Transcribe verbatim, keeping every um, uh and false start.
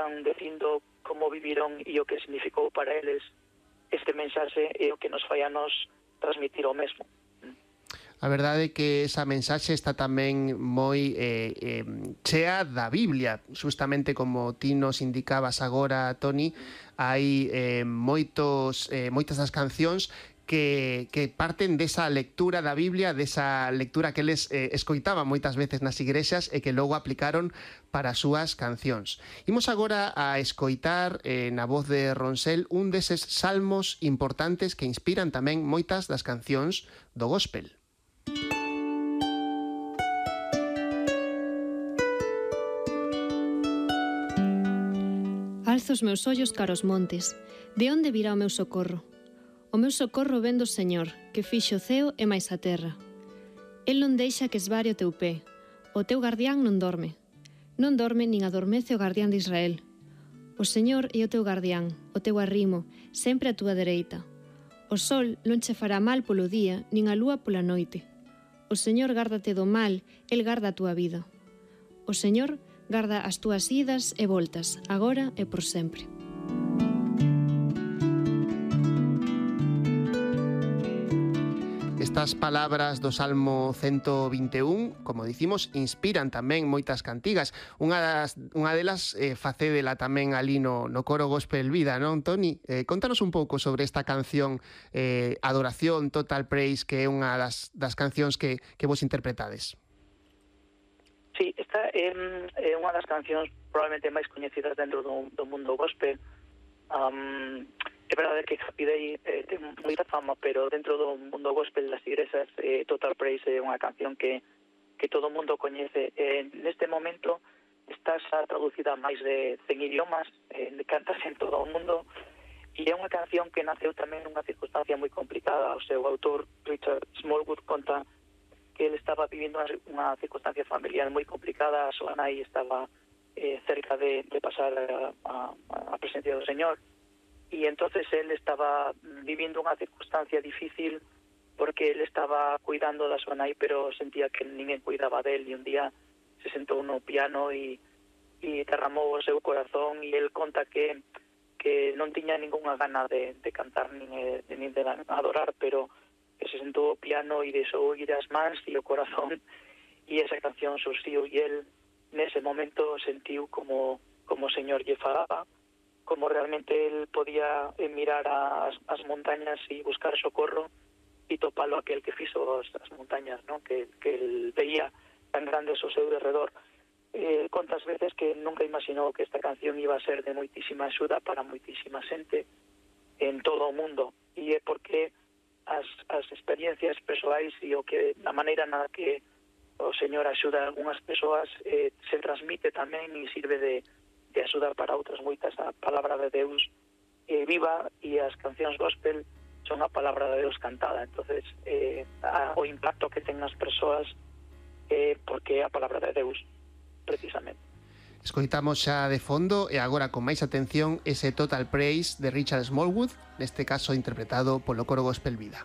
están dicindo como viviron e o que significou para eles este mensaxe e o que nos fai a nos transmitir o mesmo. A verdade é que esa mensaxe está tamén moi eh, eh, chea da Biblia, justamente como ti nos indicabas agora, Toni, hai eh, moitos, eh, moitas das cancións que, que parten desa lectura da Biblia, desa lectura que eles eh, escoitaban moitas veces nas igrexas e que logo aplicaron para as súas cancións. Imos agora a escoitar eh, na voz de Ronsel un deses salmos importantes que inspiran tamén moitas das cancións do gospel. Alzo os meus ollos cara aos montes. De onde virá o meu socorro? O meu socorro vén do Señor, que fixo o ceo e máis a terra. El non deixa que esvare o teu pé. O teu guardián non dorme. Non dorme nin adormece o guardián de Israel. O Señor é o teu guardián, o teu arrimo, sempre a túa dereita. O sol non che fará mal polo día, nin a lúa pola noite. O Señor gárdate do mal, el garda a túa vida. O Señor garda as túas idas e voltas, agora e por sempre. Estas palabras do Salmo ciento vinte e un, como dicimos, inspiran tamén moitas cantigas. Unha, das, unha delas eh, facédela tamén ali no, no coro Gospel Vida, non, Toni? Eh, contanos un pouco sobre esta canción eh, Adoración, Total Praise, que é unha das, das cancións que, que vos interpretades. Sí, esta é, é unha das cancións probablemente máis coñecidas dentro do, do mundo gospel. Um, é verdade que Happy Day eh, ten moita fama, pero dentro do mundo gospel das igrexas eh, Total Praise é unha canción que, que todo o mundo coñece. Eh, neste momento está xa traducida a máis de cen idiomas, eh, cantase en todo o mundo, e é unha canción que naceu tamén nunha circunstancia moi complicada. O seu autor, Richard Smallwood, conta que ele estaba vivindo unha circunstancia familiar moi complicada. A súa nai estaba eh, cerca de, de pasar a, a, a presencia do Señor, e entonces ele estaba vivindo unha circunstancia difícil porque ele estaba cuidando da súa nai, pero sentía que ninguén cuidaba del, e un día se sentou no piano e, e derramou o seu corazón, e ele conta que, que non tiña ninguna gana de, de cantar nin de, nin de adorar, pero que se sentou ao piano e deixou ir as mans e o corazón, e esa canción surxiu, e el nese momento sentiu como, como o Señor lle falaba, como realmente el podía mirar as, as montañas e buscar socorro e topalo aquel que fixo as, as montañas, ¿no? que, que el veía tan grandes ao seu derredor. Eh, contas veces que nunca imaginou que esta canción iba a ser de moitísima axuda para moitísima xente en todo o mundo, e é porque as, as experiencias persoais e o que a maneira na que o Señor axuda a algunhas persoas eh, se transmite tamén e sirve de de axuda para outras moitas. A palabra de Deus eh, viva, e as cancións gospel son a palabra de Deus cantada. Entonces eh, a, o impacto que ten nas persoas eh, porque é a palabra de Deus, precisamente. Escoitamos xa de fondo e agora con máis atención ese Total Praise de Richard Smallwood, neste caso interpretado polo coro Gospel Vida.